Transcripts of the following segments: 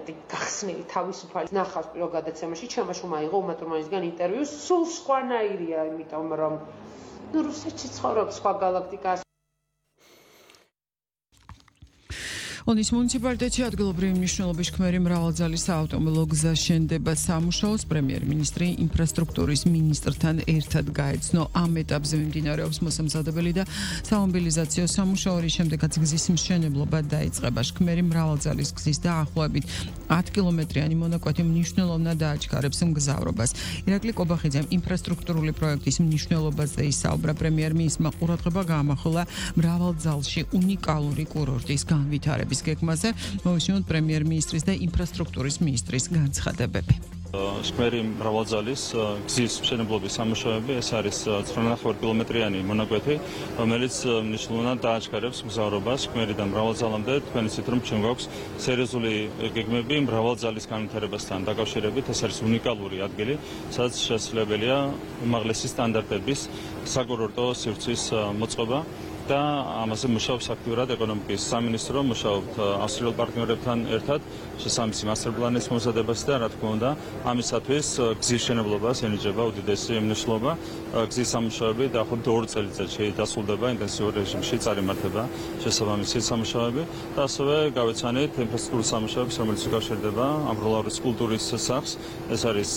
ვარიანტი გახსნილი თავისუფალი ნახავს პირველ გადაცემაში, ჩემაშო მაიღო უმა თურმანისგან ინტერვიუ, სულ სხვანაირია, იმიტომ რომ რუსეთში ცხოვრობს სხვა გალაქტიკას. ონის მუნიციპალიტეტში ადგილობრივი მნიშვნელობის ხმერი მრავალძალის საავტომობილო გზა შენდება სამუშაოს პრემიერ-მინისტრი ინფრასტრუქტურის მინისტრთან ერთად გაეცნო. ამ ეტაპზე მიმდინარეობს მოსამზადებელი და სამობილიზაციო სამუშაო, რის შემდეგაც გზის მშენებლობა დაიწყება. ხმერი მრავალძალის გზის დაახლოებით 10 კილომეტრიანი მონაკვეთი მნიშვნელოვნად დააჩქარებს მგზავრობას. ირაკლი კობახიძემ ინფრასტრუქტურული პროექტის მნიშვნელობაზე ისაუბრა. პრემიერ-მინისტრმა ყურადღება გაამახვილა მრავალძალში უნიკალური კურორტის განვითარების გეგმაზე, მოусმინოთ პრემიერ-მინისტრის და ინფრასტრუქტურის მინისტრის განცხადებები. ხმერი მრავალძალის გზის მშენებლობის სამუშაოები, ეს არის 9.5 კილომეტრიანი მონაკვეთი, რომელიც მნიშვნელოვნად დააჩქარებს მგზავრობას ხმერიდან მრავალძალამდე. თქვენ იცით, რომ ჩვენ გვაქვს სერიოზული გეგმები მრავალძალის განვითარებასთან დაკავშირებით. ეს არის უნიკალური ადგილი, სადაც შესაძლებელია უმაღლესი სტანდარტების საკურორტო სივრცის მოწყობა. და ამაზე მუშაობს აქტიურად ეკონომიკის სამინისტრო, მუშაობთ ავსტრიელ პარტნიორებთან ერთად შესაბამისი მასტერპლანის მომზადებასა და რა თქმა უნდა, ამისათვის გზის მშენებლობას ენიჭება უდიდესი მნიშვნელობა. გზის სამუშაოები დაახლოებით 2 წელიწადში დასრულდება ინტენსიურ რეჟიმში, წარიმართება შესაბამისი სამუშაოები და ასევე გავეცანით ინფრასტრუქტურის სამუშაოებს, რომელიც უკავშირდება ამბროლაურის კულტურის სახლს. ეს არის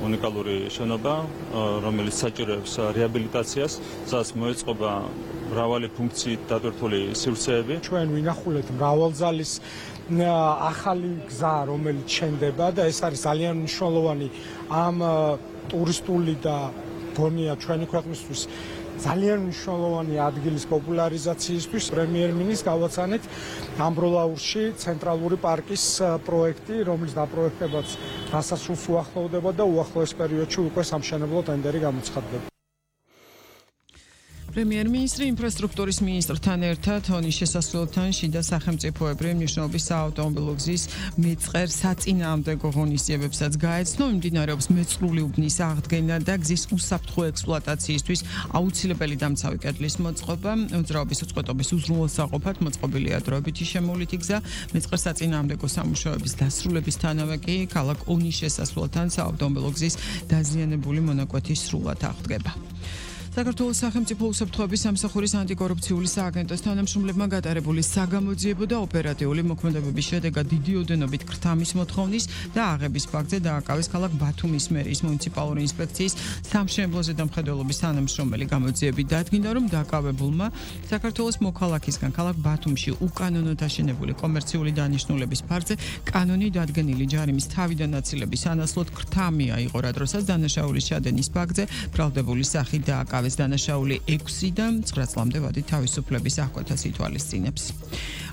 უნიკალური შენობა, რომელიც საჭიროებს რეაბილიტაციას, სადაც მოეწყობა მრავალი ფუნქციით დატვირთული სივრცეები. ჩვენ ვინახულეთ მრავალძალის ახალი გზა, რომელიც შენდება და ეს არის ძალიან მნიშვნელოვანი ამ ტურისტული და გონია ჩვენი ქვეყნისთვის ძალიან მნიშვნელოვანი ადგილის პოპულარიზაციისთვის. პრემიერ-მინისტრს გავაცანეთ ამბროლაურში ცენტრალური პარკის პროექტი, რომლის დაპროექტებაც დასასრულს უახლოვდება და უახლოეს პერიოდში უკვე სამშენებლო ტენდერი გამოცხადდება. პრემიერ-მინისტრი ინფრასტრუქტურის მინისტრთან ერთად ონის შესასვლელთან შიდა სახელმწიფოებრივი მნიშვნელობის საავტომობილო გზის მეწყერ საწინააღმდეგო ღონისძიებებსაც გაეცნო. მიმდინარეობს მეწყრული უბნის აღდგენა და გზის უსაფრთხო ექსპლუატაციისთვის აუცილებელი დამცავი კედლის მოწყობა. მოძრაობის უწყვეტობის უზრუნველსაყოფად მოწყობილია დროებითი შემოვლითი გზა. მეწყერ საწინააღმდეგო სამუშაოების დასრულებისთანავე კი ქალაქ ონის შესასვლელთან საავტომობილო გზის დაზიანებული მონაკვეთი სრულად აღდგება. საქართველოს სახელმწიფო უსაფრთხოების სამსახურის ანტიკორუფციული სააგენტოს თანამშრომლებმა გატარებული საგამოძიებო და ოპერატიული მოქმედებების შედეგად დიდი ოდენობით ქრთამის მოთხოვნის და აღების ფაქტზე დააკავეს ქალაქ ბათუმის მერიის მუნიციპალური ინსპექციის სამშენებლოზე დამხედველობის თანამშრომელი. გამოძიებით დადგინდა, რომ დაკავებულმა საქართველოს მოქალაქისგან ქალაქ ბათუმში უკანონოდ აშენებული კომერციული დანიშნულების ფარგლზე კანონი დადგენილი ჯარიმის თავიდან აწილების ანასლოდ ქრთამი აიღო, რა დროსაც დანაშაულის ჩადენის ფაქტზე ბრალდებული სახით დააკავეს. დანაშაული 6-დან 9 წლამდე ვადით თავისუფლების აღკვეთას ითვალისწინებს.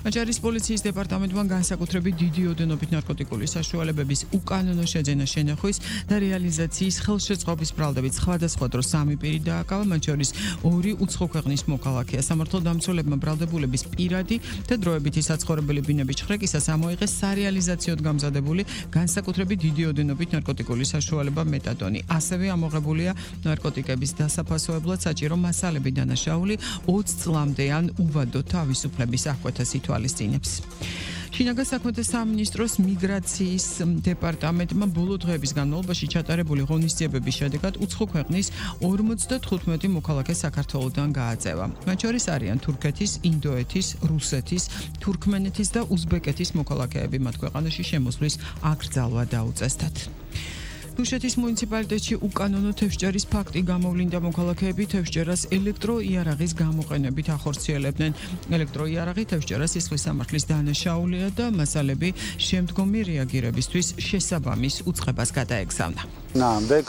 აჭარის პოლიციის დეპარტამენტმა განსაკუთრებით დიდი ოდენობით ნარკოტიკული საშუალებების უკანონო შეძენა შენახვის და რეალიზაციის ხელშეწყობის ბრალდებით სხვადასხვა დროს 3 პირი დააკავა, მათ შორის 2 უცხო ქვეყნის მოქალაქეა. სამართალდამცველებმა ბრალდებულების პირადი და დროებითი საცხოვრებელი ბინების ჩხრეკისას ამოიღეს სარეალიზაციოდ გამზადებული განსაკუთრებით დიდი ოდენობით ნარკოტიკული საშუალება მეტადონი. ასევე ამოღებულია ნარკოტიკების დასაფასოებლად საჭირო მასალები დანაშაული 20 წლამდე ან უვადო თავისუფლების აღკვეთას ითვალისწინებს. შინაგან საქმეთა სამინისტროს მიგრაციის დეპარტამენტმა ბოლო დღეების განმავლობაში ჩატარებული ღონისძიებების შედეგად უცხო ქვეყნის 55 მოქალაქე საქართველოდან გააწევა. მათ შორის არიან თურქეთის, ინდოეთის, რუსეთის, თურქმენეთის და უზბეკეთის მოქალაქეები. მათ ქვეყანაში შემოსვლის აკრძალვა დაუწესდათ. დუშეთის მუნიციპალიტეტში უკანონო თევზჭერის ფაქტი გამოვლინდა. მოქალაქეები თევზჭერას ელექტროიარაღის გამოყენებით ახორციელებდნენ. ელექტროიარაღი თევზჭერას სისხლის სამართლის დანაშაულია და მასალები შემდგომი რეაგირებისთვის შესაბამის უწყებას გადაეგზავნა. ნამდვილ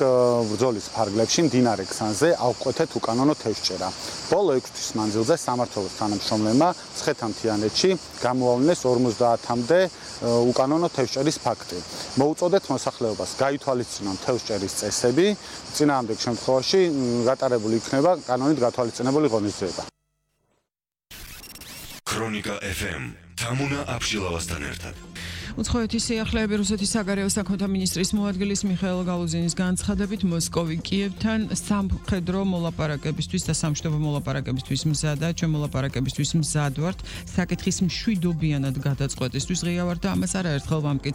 ბრძოლის ფარგლებში მდინარე ქსანზე ავკვეთეთ უკანონო თევზჭერა. ბოლო 6 თვის მანძილზე სამმართველოს თანამშრომლებმა ცხეთამთიანეთში გამოავლინეს 50-მდე უკანონო თევზჭერის ფაქტი. მოუწოდეთ მოსახლეობას გაითვალისწინონ თევზჭერის წესები, წინააღმდეგ შემთხვევაში გატარებული იქნება კანონით გათვალისწინებული ღონისძიება. ქრონიკა FM თამუნა აბშილავასთან ერთად. უცხოეთის სიახლეები რუსეთის საგარეო საქმეთა მინისტრის მოადგილის მიხეილ გალუზინის განცხადებით მოსკოვი კიევთან სამხედრო მოლაპარაკებისთვის და სამშვიდობო მოლაპარაკებისთვის მზადაა. ჩვენ მოლაპარაკებისთვის მზად ვართ. საკითხის მშვიდობიანად გადაწყვეტისთვის ღია ვართ და ამას არაერთხელ ვამტკიცე.